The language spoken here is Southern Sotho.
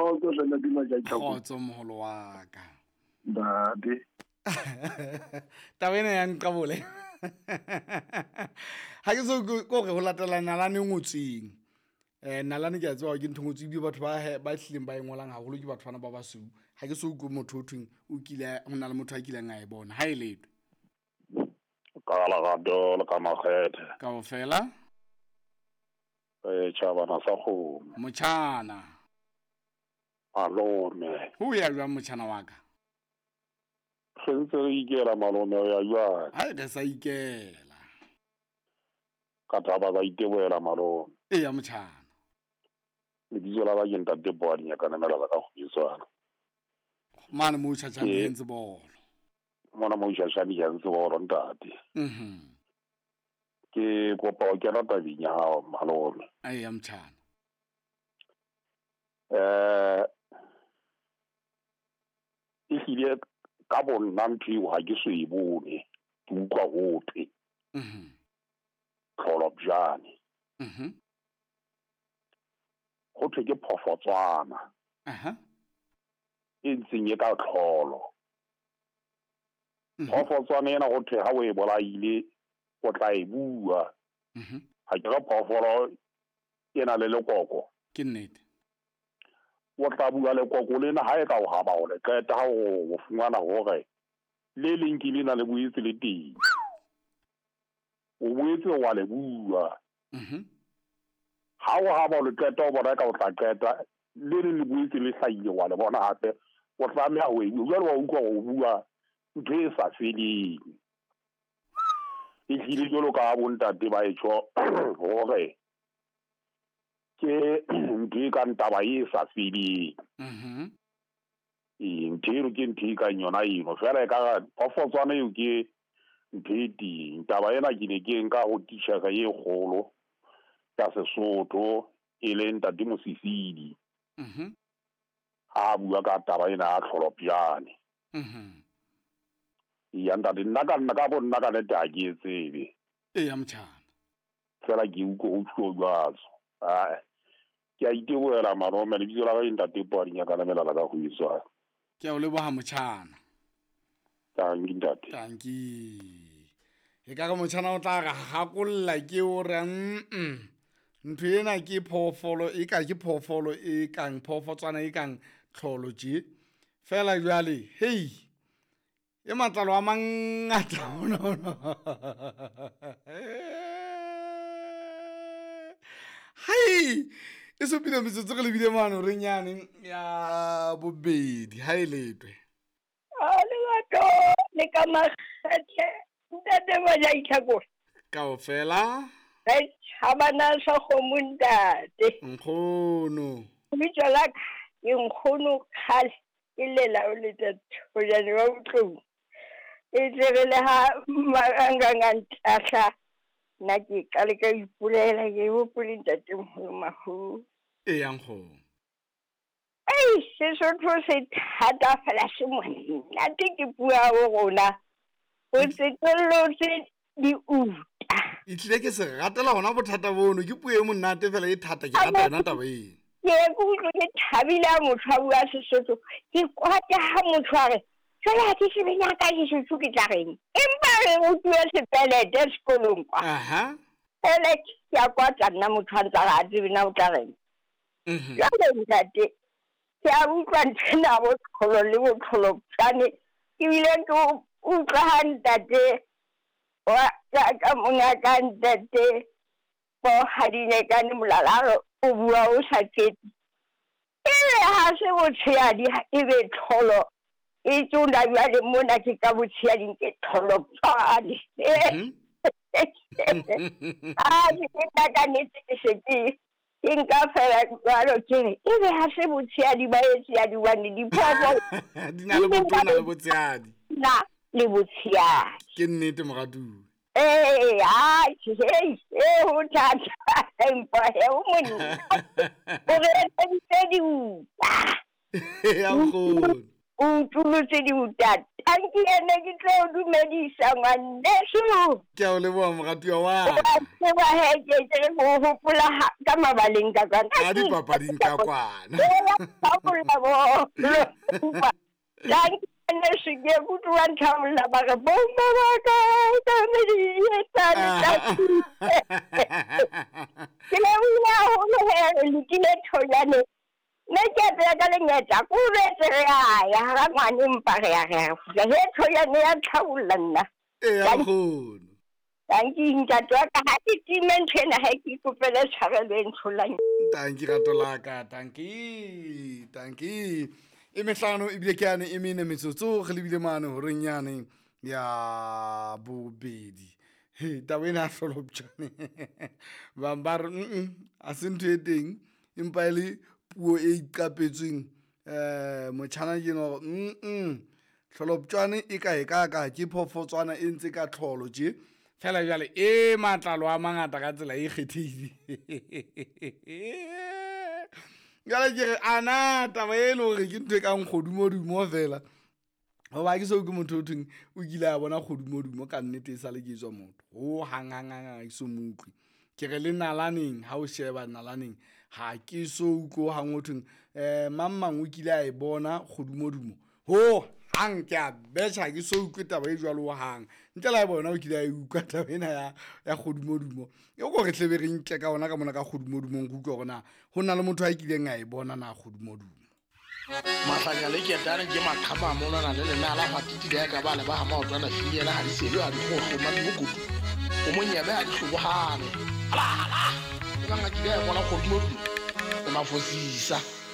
Kgotso hle ntate Majai. Kgotso moholo wa ka. Ntate. Taba ena ya nqabole. Ha ke so ko re ho latela nalane e ngotsweng. Nalane ke a tseba ke ntho e ngotsweng ebile batho ba hlileng ba e ngolang haholo ke batho bana ba basweu. Ha ke so utlwe motho ho thweng o kile ho na le motho a kileng a e bona. Ha e letho. Ka lerato le ka makgethe. Kaofela. Tjhabana sa kgomo. Motjhana. Malome. Ho ya jwang motjhana wa ka? Re ntse re ikela malome ho ya jwang? Ha re sa ikela. Ka thaba ka itebohela malome. Eya motjhana. Lebitso la ka ke ntate Poadi Nyakanemela ka Kgobetswana. Mane mo tjhatjhane ntse bolo. Mona mo tjhatjhane ke ntse bolo ntate. Ke kopa ho kena tabeng ya hao malome. Eya motjhana. Ehlile ka bonna ntho eo ha ke so e bone, ke utlwa ho thwe. Tlholobjane. Ho thwe ke phofotswana. E ntseng e ka tlholo. Phofotswana ena ho thwe ha o e bolaile o tla e bua. Ha ke re phoofolo e na le lekoko. Ke nnete. O tla bua lekoko lena ha e ka o haba o le qeta ha o fumana hore le leng ke lena le boetse le teng. O boetse wa le bua. Ha o haba o le qeta o bona ka o tla qeta le leng le boetse le hlahile wa le bona hape o tlameha ho e bua. Jwale wa utlwa o bua ntho e sa feleng. Ehlile jwalo ka bontate ba e tjho hore ke ntho e kang taba e sa feleng. Ntho eno ke ntho e kang yona eno. Feela e ka re phofotswana eo ke ntho e teng. Taba ena ke ne ke nka ho titjhere e kgolo ya Sesotho e leng ntate Mosisili. Ha bua ka taba ena ya tlholobjane. Eya ntate, nna ka nna ka bo nna ka nnete ha ke e tsebe. Eya motjhana. Feela ke utlwe ho tjho jwalo. Ke a itebohela malome, lebitso la ka ke ntate Poadi Nyakanemela la ka Kgobetswana. Ke a o leboha motjhana. Tanki ntate. Tanki. E ka re motjhana o tla re hakolla ke o re ntho ena ke phoofolo e ka ke phoofolo e kang phoofotswana e kang tlholo tje. Feela jwale hei e matlalo a mangata hono. Hai e supile metsotso re lebile mane re nyane ya bobedi ha e letwe. A lerato le ka makgethe ntate Majai Tlhakole. Kaofela. Re tjhabana sa kgomo ntate. Nkgono. Lebitso la ka ke nkgono kgale ke lela o leta thojane wa botlou. E tle re le ha marangrang a ntahla nna ke qale ka ipolela ke hopole ntate moholo Mahu. Eya nkgono. Ei, Sesotho se thata fela se monate ke puo ya bo rona. O tsetellotse diuta. E tlile ke se ratela hona bothata bono, ke puo e monate fela e thata, ke rata yona taba eno. Ke ye ke utlwe ke thabile ha motho a bua Sesotho, ke kwata ha motho a re jwale ha ke tsebe nyaka Sesotho ke tla reng. Empa re rutuwe sepelete sekolong kwa. Ele ke a kwata nna motho a ntsa a tsebe na o tla reng. Jwale ntate ke a utlwa nthwena bo tlholo le botlholopjane, ebile ke utlwa ha ntate wa ka monga ka ntate bo Hadinekane Molalaro o bua o sa qete. Ebe ha se botshehadi e be tlholo e tsona jwale mona ke ka botshehading ke tlholopjane. A ke nna ka nnete ke se ke ke nka fela jwalo ke re ebe ha se botshehadi ba etshehadi hobane diphoofolo di na le botona le botshehadi. Na le botshehadi. Ke nnete moratuwa. Ee, ai, hei, ho thata. Empa he o monna. O re etseditse diuta. Ya nkgono. O utulotse diuta Tanki ene ke tlo dumedisa ngwaneso. Ke a o leboha moratuwa wa ka. Wa tseba he ke ke re go hopola ka mabaleng ka kwana. Ka dipapading ka kwana. Thabolla bo. Tanki ngwaneso ke kutlwa nthabolla ba re bomma ba ka ka medietsane tanki. Ke lebohile haholo he re lokile thonyane. Nne ke a tseba ka lengeta ko betse re a ya ga ngwane mpa re ya re ya kgutla he thoyane ya tlhabolla nna. Eya nkgono. Tanki ntate wa ka ha ke time ntho ena ha ke ikopele tshwarelo e ntsholang. Tanki rato la ka tanki tanki e mehlano ebile ke yane e mene metsotso re lebile mane horeng yane ya bobedi. He taba ena ya hloloptjane bang ba re a se ntho e teng empa e le puo e iqapetsweng um motjhana ke ena hore tlholoptjwane e ka e ka ka ke phoofotswana e ntse ka tlholo tje fela jwale e matlalo a mangata ka tsela e kgethehile. Jwale ke re ana taba e le hore ke ntho e kang kgodumodumo fela hoba ke so ke motho o thweng o kile a bona kgodumodumo ka nnete e sale ke tswa motho ho hang hang hang ha ke so mo utlwe. Ke re le nalaneng ha o sheba nalaneng ha ke so utlwe ho hang ho thweng mang mang o kile a e bona kgodumodumo ho hang ke a betjha ha ke so utlwe taba e jwalo ho hang. Ntle le ha eba wena o kile a e utlwa taba ena ya ya kgodumodumo e ko re tlebe re nke ka ona ka mona ka kgodumodumong re utlwe hore na ho na le motho a kileng a e bona na kgodumodumo. Mahlanya le ketane ke maqhama a monwana le lenala hwatiti le ka ba le ba ha maotwana finyela ha di selo ha di kgohlo mmadimokotu o monyebe ha di hlobohane. Hala hala! E bang a kile a e bona kgodumodumo le mafosisa.